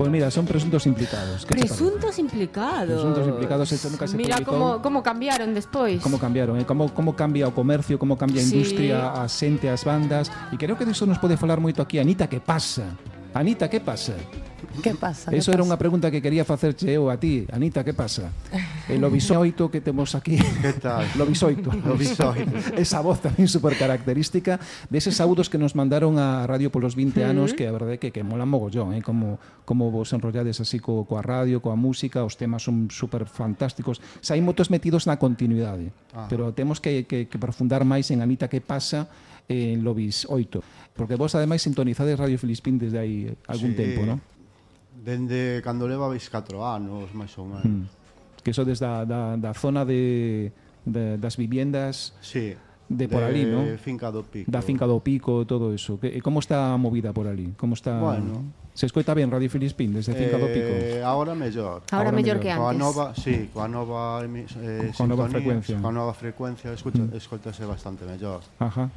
Pois mira, son presuntos implicados. Presuntos implicados. Presuntos implicados, eso nunca se Mira publicou. como cambiaron despois. Como cambiaron, como cambia o comercio, como cambia a industria, a xente, as bandas. E creo que diso nos pode falar moito aquí Anita, que pasa? Anita, que pasa? Que pasa? Eso era unha pregunta que quería facerche eu a ti. Anita, que pasa? El Lobisoito que temos aquí. Que tal? Lobisoito. Esa voz tamén super característica deses saúdos que nos mandaron a radio polos 20 anos, que a verdade que molan mogollón, como vos enrollades así coa radio, coa música, os temas son super fantásticos. Hai motos metidos na continuidade, pero temos que profundar máis en Anita, que pasa en Lobis 8, porque vos ademais sintonizades Radio Filispín desde hai algún tempo, non? Dende cando levabais 4 anos, máis ou menos. Que sodes da zona das viviendas de por ali, non? Finca do Pico. Da Finca do Pico, todo eso. Como está a movida por ali? Como está? Bueno. Se escoita ben Radio Filispín desde Finca do Pico? Ahora mellor. Ahora mellor que antes. Coa nova frecuencia. Coa nova frecuencia escoitase bastante mellor. Ajá.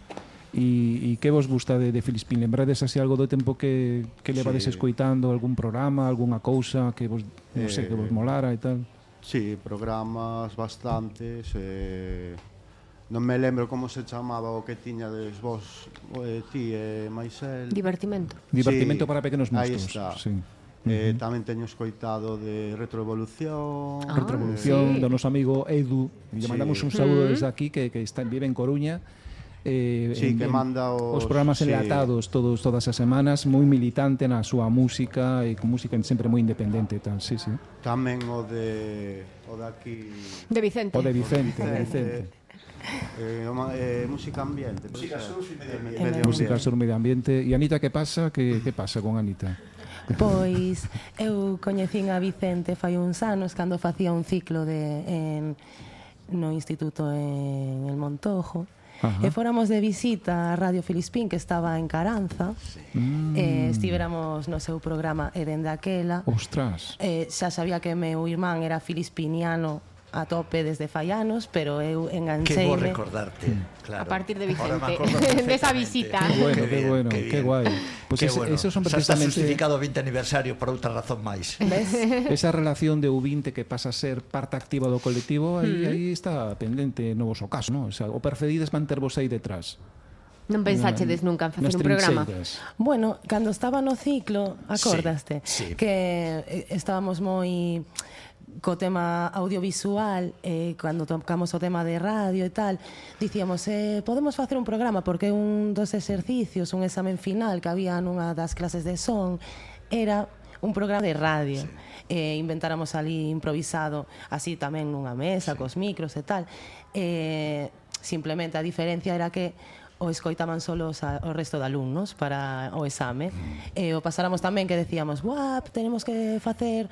E que vos gusta de Filispín? Lembrades así algo do tempo que levades escoitando, algún programa, algunha cousa que vos, non sei, que vos molara e tal? Sí, programas bastantes. Non me lembro como se chamaba o que tiñades vos, ti e Maisel. Divertimento. Divertimento para pequenos monstruos. Aí está. Sí. Tamén teño escoitado de Retroevolución. Retroevolución, do noso amigo Edu. Lle mandamos un saúdo desde aquí, que vive en Coruña. Que manda os programas enlatados todas as semanas, moi militante na súa música e con música sempre moi independente e tal, sí. Tamén o de aquí de Vicente. O de Vicente. Música ambiente. Música sur medio ambiente. E Anita, que pasa? Que pasa con Anita? Pois eu coñecín a Vicente fai uns anos cando facía un ciclo no instituto en el Montojo. E fóramos de visita a Radio Filispín, que estaba en Caranza. Estivéramos no seu programa e dende aquela. Ostras. Xa sabía que meu irmán era filispiniano a tope desde fai anos, pero eu engancheime. Que vou recordarte, claro. A partir de Vicente, desa visita. Qué bueno, qué guai. Pues esos son precisamente... Xa está justificado o 20 aniversario por outra razón máis. Esa relación de U20 que pasa a ser parte activa do colectivo, aí está pendente no voso caso, non? O sea, o preferides mantervos aí detrás. Non pensáchedes nunca en facer un programa? Bueno, cando estaba no ciclo, acordaste? Sí. Que estábamos moi co tema audiovisual, cando tocamos o tema de radio e tal, dicíamos, podemos facer un programa, porque un dos exercicios, un examen final que había nunha das clases de son, era un programa de radio. Inventáramos ali improvisado, así tamén nunha mesa, cos micros e tal. Simplemente a diferencia era que o escoitaban solo o resto de alumnos para o exame. O pasáramos tamén que decíamos, tenemos que facer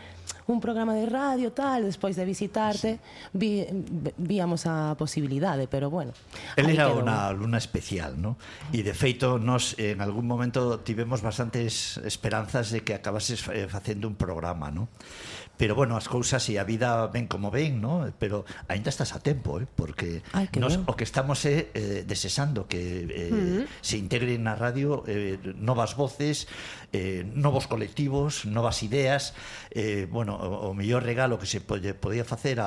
un programa de radio tal, despois de visitarte víamos a posibilidade, pero bueno. Él era unha alumna especial, ¿no? E de feito nos en algún momento tivemos bastantes esperanzas de que acabases facendo un programa, ¿no? Pero bueno, as cousas e a vida ven como ven, ¿no? Pero aínda estás a tempo, porque nos, o que estamos desexando que se integren na radio novas voces, novos colectivos, novas ideas. Bueno, o mellor regalo que se podía facer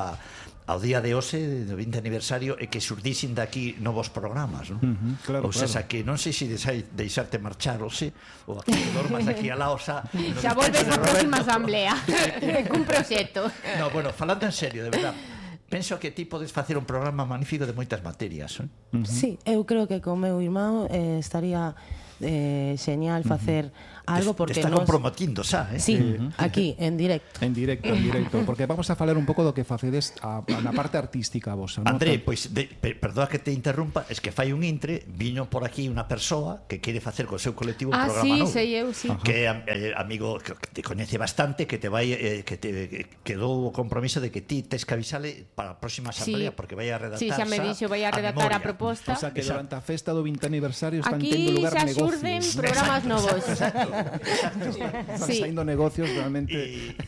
ao día de hoxe, do 20 aniversario, é que xurdisen daqui novos programas, non? Claro, ou sea, que non sei se deixarte marchar ou se, ou aquí dormas aquí a la osa. Xa volves a próxima asamblea cun proxecto. No, bueno, falando en serio, de verdad, penso que ti podes facer un programa magnífico de moitas materias, Sí, eu creo que con meu irmão estaría genial facer algo, porque está comprometindo xa, Sí, aquí, en directo. En directo, porque vamos a falar un pouco do que facedes na parte artística vosa, non? André, pois, perdoa que te interrumpa, es que fai un intre, viño por aquí unha persoa que quere facer co seu colectivo un programa novo. Sei eu, sí. Que é amigo que te coñece bastante, que te vai que te quedou o compromiso de que ti tes que avisale para a próxima asamblea, porque vai a redactar. Sí, xa me dixo, vai a redactar a proposta. O sea, que durante a festa do 20 aniversario están tendo lugar negocios. Aquí xa xurden programas novos. Están saindo negocios realmente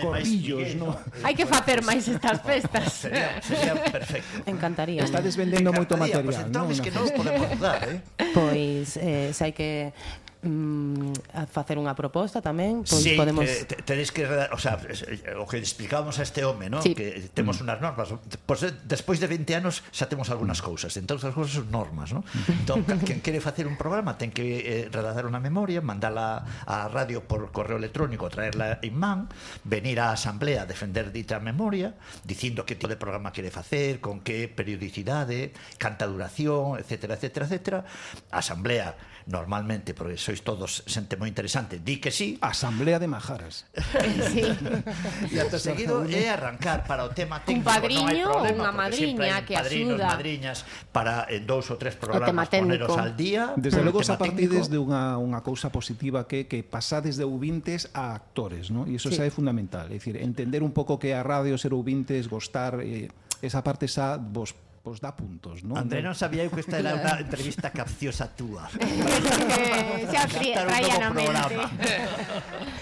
corrillos, ¿no? Hai que facer máis estas festas. Sería perfecto. Encantaría. Estades vendendo moito material, pues entón, es que non podemos dudar, Pois, se hai que a facer unha proposta tamén, pois sí, podemos... tedes que, o sea, o que explicábamos a este home, ¿no? Sí. Que temos unhas normas, pois despois de 20 anos xa temos algunhas cousas, entón as cousas son normas, ¿no? Entón, quen quere facer un programa ten que redactar unha memoria, mandala á radio por correo electrónico, traerla en man, venir á asamblea a defender dita memoria, dicindo que tipo de programa quere facer, con que periodicidade, canta duración, etcétera, etcétera, etcétera. A asamblea normalmente, porque sois todos xente moi interesante, di que sí. Asamblea de Majaras. Sí. E acto seguido é arrancar para o tema técnico. Un padriño non hai ou problema, unha porque sempre hai madriña que padrinos, axuda. madriñas para en 2 ou 3 programas tema técnico. poneros al día. Desde logo o esa tema partides técnico. de unha cousa positiva que pasades de ouvintes a actores, ¿no? E iso xa é fundamental, é dicir, entender un pouco que a radio ser ouvintes, gostar, esa parte xa vos dá puntos, ¿no? André non sabía eu que esta era unha entrevista capciosa túa. Xa traían a mente.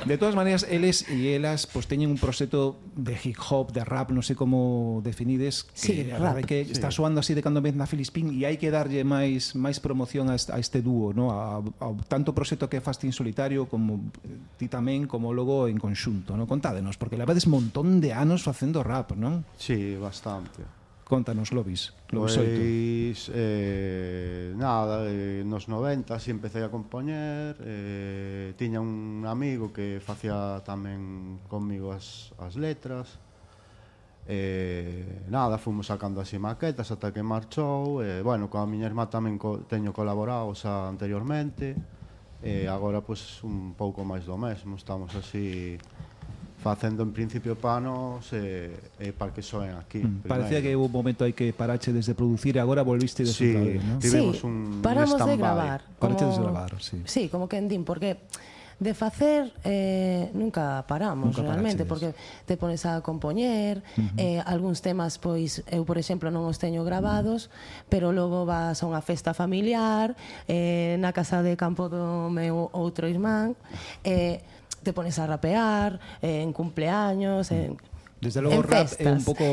De todas maneiras, eles e elas pues teñen un proxecto de hip hop, de rap, non sei como definides, Sí, que a rap. verdade que está soando así de cando vez na Filispín e hai que darlle máis promoción a este dúo, ¿no? A tanto proxecto que faz ti en solitario como ti tamén, como logo en conxunto, ¿no? Contádenos, porque levades montón de anos facendo rap, non? Sí, bastante. Contanos, Lobis. Pois, nada, nos 90 si empecé a compoñer, tiña un amigo que facía tamén comigo as letras, nada, fomos sacando así maquetas ata que marchou, bueno, coa miña irmá tamén teño colaborado xa anteriormente, agora pois un pouco máis do mesmo, estamos así facendo en principio panos para que soen aquí. Parecía que hubo un momento aí que parache desde producir e agora volviste de outra vez, ¿no? tivemos Sí, un paramos de stand-by. gravar. Parache como- desde gravar, sí. Sí, como que din, porque de facer nunca paramos Nunca realmente, parachedes. porque te pones a compoñer, algúns temas, pois, eu, por exemplo, non os teño grabados, pero logo vas a unha festa familiar, na casa de campo do meu outro irmán, te pones a rapear, en cumpleaños, Desde logo o en rap é un festas. pouco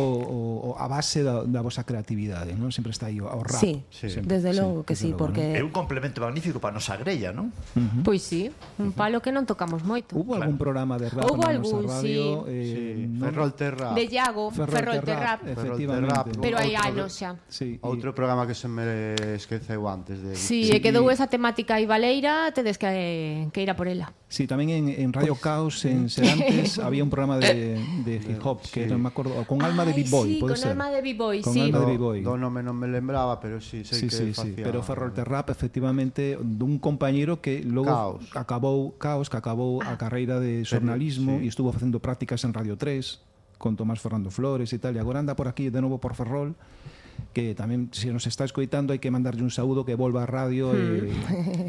a base da vosa creatividade, non? Sempre está aí o rap. Sí, sempre, desde logo que desde sí, logo, porque... É un complemento magnífico para a nosa grella, non? Pois sí, un palo que non tocamos moito. Hubo algún programa de rap Houbo na nosa algún, radio? Sí, non? Ferrol Terra. De Iago, Ferrol Terrap. Efectivamente. Pero hai Outro- anos xa. Sí, Outro programa que se me esqueceu antes de... Si, e quedou esa temática aí valeira, tedes que ir a por ela. Sí, tamén en Radio Caos en Serantes había un programa de hip hop que non me acordo, con alma de B-boy, sí, pode con ser. alma de B-boy, Con sí. alma de B-boy. Do nome non me lembraba, pero sí, sei Sí, que sí, sí, facía... pero Ferrol Terrap efectivamente dun compañeiro que logo acabou a carreira de xornalismo sí. e estuvo facendo prácticas en Radio 3 con Tomás Fernando Flores e tal, e agora anda por aquí de novo por Ferrol, que tamén se nos está escoitando hai que mandarlle un saúdo que volva a radio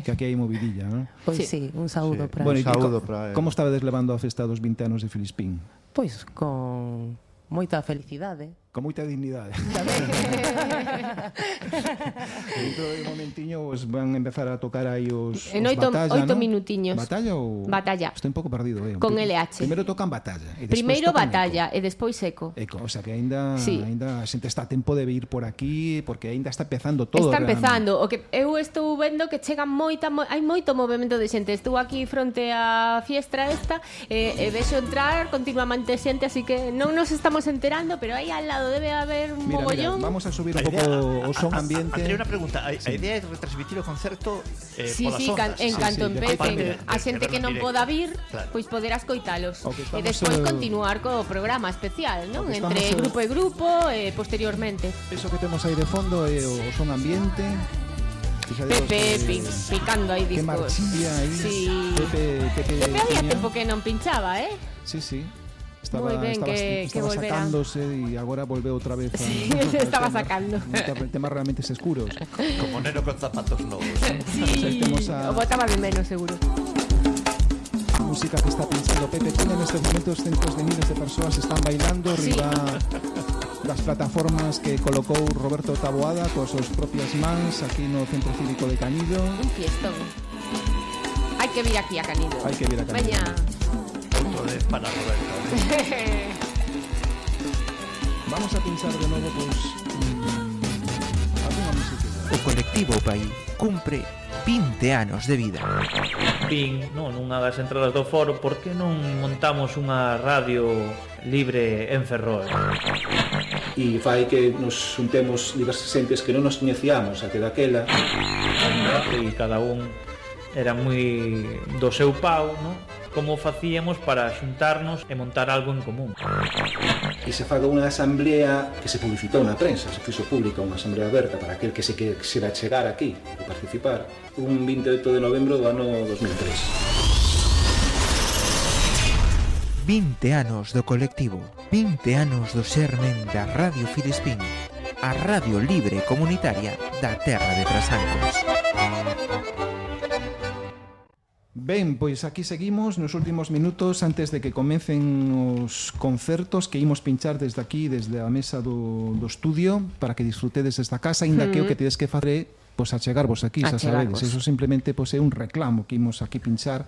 que aquí hai movidilla, non? Pois Sí. sí, un saúdo Sí. para... Bueno, e saúdo para él. como estabades levando a festa dos 20 anos de Filispín? Pois con moita felicidade. Con moita dignidade. Dentro de un momentiño pues, van a empezar a tocar aí os En oito Batalla, ¿no? minutiños. Batalla ou... Batalla. Estou un pouco perdido, Con LH. Primeiro tocan Batalla. E despois Primeiro tocan Batalla e despois Eco. Eco, o sea que aínda Sí. a xente está a tempo de vir por aquí porque aínda está empezando todo. Está realmente. empezando. O que eu estou vendo que chega hai moito movemento de xente. Estou aquí fronte á fiestra esta e vexo entrar continuamente xente, así que non nos estamos enterando, pero aí al lado debe haber un Mira, mogollón. vamos a subir un A idea- pouco o son ambiente. André, unha pregunta. A idea é retransmitir o concerto Sí, polas sí, ondas. en canto sí, empecen de a xente que non poda vir, Claro. pois poderás coitalos. O que E estamos, despois continuar co programa especial, non? o que Entre estamos, grupo e grupo e posteriormente. Eso que temos aí de fondo é o son ambiente. Fixadevos Pepe que- picando aí que discos. marchilla aí. Sí. Pepe Pepe había tiña- tempo que non pinchaba, eh? Sí, sí. Moi ben, que volverá. sacándose e agora volveu outra vez a, Sí, se estaba sacando. temas realmente escuros. Como neno con zapatos novos. Sí, temos a- o botaba de menos, seguro. A música que está pinchando Pepe Pina en estos momentos, cientos de miles de persoas están bailando Sí. riba das plataformas que colocou Roberto Taboada coas súas propias mans aquí no Centro Cívico de Canido. Un fiestón. Hai que vir aquí a Canido. Hai que vir a Canido. Veña. Outro de para Roberto. Vamos a pinchar de novo pois algunha música. O colectivo PAI cumpre 20 anos de vida. Vin, non, nunha das entradas do foro, por que non montamos unha radio libre en Ferrol? E fai que nos juntemos diversas xentes que non nos coñecíamos até daquela. E cada un era moi do seu pau, non? Como facíamos para xuntarnos e montar algo en común. E se faga unha asamblea que se publicitou na prensa, se fixo pública unha asamblea aberta para aquel que se quixera chegar aquí e participar, un 28 de novembro do ano 2003. 20 anos do colectivo, 20 anos do xermen da Radio Filispín, a radio libre e comunitaria da terra de Trasancos. Ben, pois aquí seguimos nos últimos minutos antes de que comecen os concertos que imos pinchar desde aquí, desde a mesa do estudio, para que disfrutedes desta casa, ainda que o que tedes que facer pois achegarvos aquí, xa sabedes. Eso simplemente pois é un reclamo que imos aquí pinchar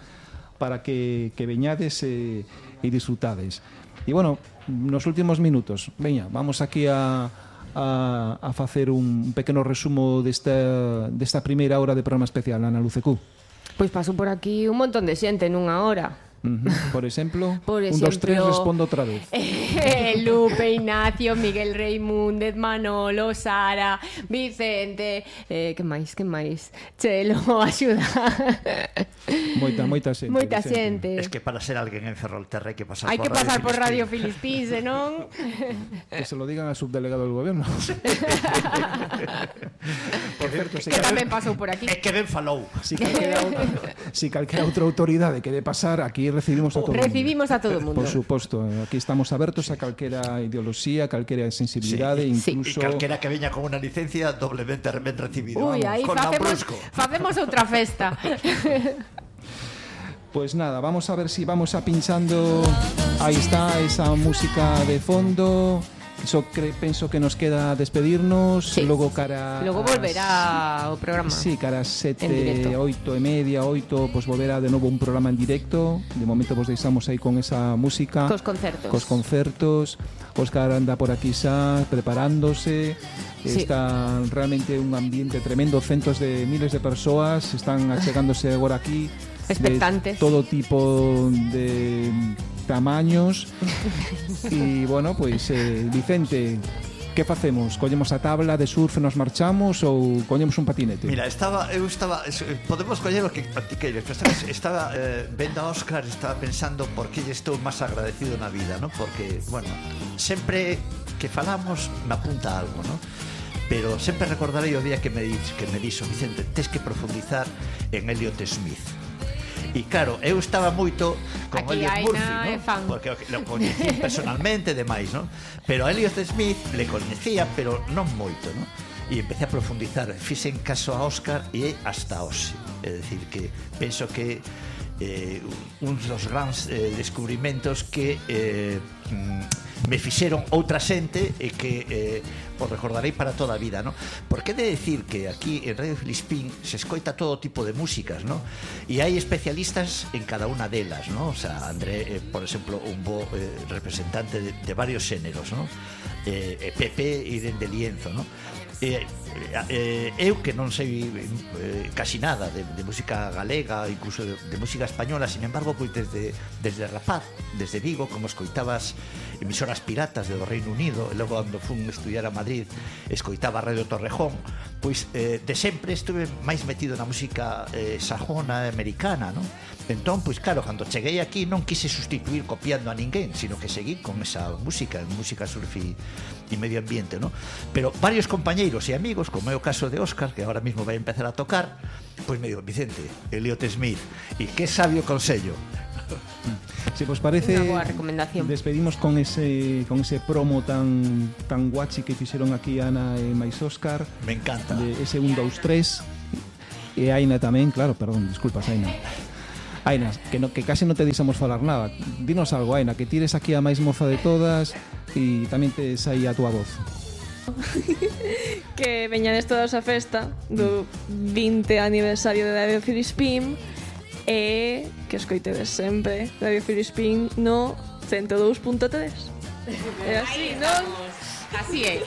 para que veñades e disfrutades. E bueno, nos últimos minutos, veña, vamos aquí a facer un pequeno resumo desta primeira hora de programa especial, Ana Lucecú. Pois paso por aquí un montón de xente nunha hora. Por exemplo, Por 1, 2, 3, respondo outra vez. Lupe, Ignacio, Miguel Reimúndez, Manolo, Sara, Vicente, que máis? Chelo, axuda. Moita xente. Moita xente. Es que para ser alguén en Ferrolterra hai que pasar Hai que pasar por Radio Filispín, senón... Que se lo digan ao subdelegado del gobierno. Por certo, que tamén pasou por aquí. É que ben falou. Si calquera outra autoridade quere pasar, aquí recibimos a todo mundo. Recibimos a todo mundo. Por suposto, aquí estamos abertos a calquera ideoloxía, calquera sensibilidade, incluso... E calquera que veña con unha licencia doblemente ben recibido. Ui, aí facemos outra festa. Pues nada, vamos a ver si vamos a pinchando. Aí está esa música de fondo. Eso penso que nos queda despedirnos. Sí. Logo volverá o programa. Sí, cara 7, 8 e media, 8, pues volverá de novo un programa en directo. De momento vos deixamos aí con esa música. Cos concertos. Óscar anda por aquí xa preparándose. Sí. Está realmente un ambiente tremendo. Centos de miles de persoas están achegándose agora aquí. Expectantes. De todo tipo de tamaños. E, bueno, pois, Vicente, que facemos? Collemos a tabla de surf e nos marchamos ou collemos un patinete? Mira, podemos coller o que queires, pero estaba vendo a Óscar, estaba pensando por que lle estou máis agradecido na vida, ¿no? Porque, bueno, sempre que falamos me apunta algo, ¿no? Pero sempre recordarei o día que me dixo Vicente, tes que profundizar en Elliot Smith. E claro, eu estaba moito con aquí Elliot Murphy, é ¿no? fan. Porque lo coñecí personalmente e demais, ¿no? Pero a Elliot Smith le coñecía, pero non moito, ¿no? E empecé a profundizar, fixen caso a Óscar e hasta hoxe. É dicir que penso que un dos grandes descubrimentos que me fixeron outra xente e que os recordarei para toda a vida, ¿no? Porque he de decir que aquí en Radio Filispín se escoita todo tipo de músicas, ¿no? E hai especialistas en cada unha delas, ¿no? O sea, André, por exemplo, un bo representante de varios xéneros, ¿no? Pepe e dende Lienzo, ¿no? Eu que non sei casi nada de música galega, incluso de música española, sin embargo, pois desde rapaz, desde Vigo, como escoitabas emisoras piratas do Reino Unido, e logo cando fun estudiar a Madrid escoitaba Radio Torrejón, pois de sempre estuve máis metido na música sajona americana, non? Entón, pois claro, cando cheguei aquí non quise sustituir copiando a ninguén, sino que seguí con esa música surf e medio ambiente, ¿no? Pero varios compañeiros e amigos, como é o caso de Óscar, que ahora mismo vai empezar a tocar, pois me digo, Vicente, Elliot Smith, e que sabio consello. Si vos parece, unha boa recomendación. Despedimos con ese promo tan guachi que fixeron aquí Ana e máis Óscar. Me encanta. De ese 1, 2, 3. E Aina tamén, claro, perdón, disculpas, Aina. Aina, que casi non te deixamos falar nada. Dinos algo, Aina, que tires aquí a máis moza de todas e tamén tes aí a túa voz. Que veñades todos a festa do 20 aniversario de Radio Filispín e que escoitedes sempre Radio Filispín no 102.3. É así, non? Así é.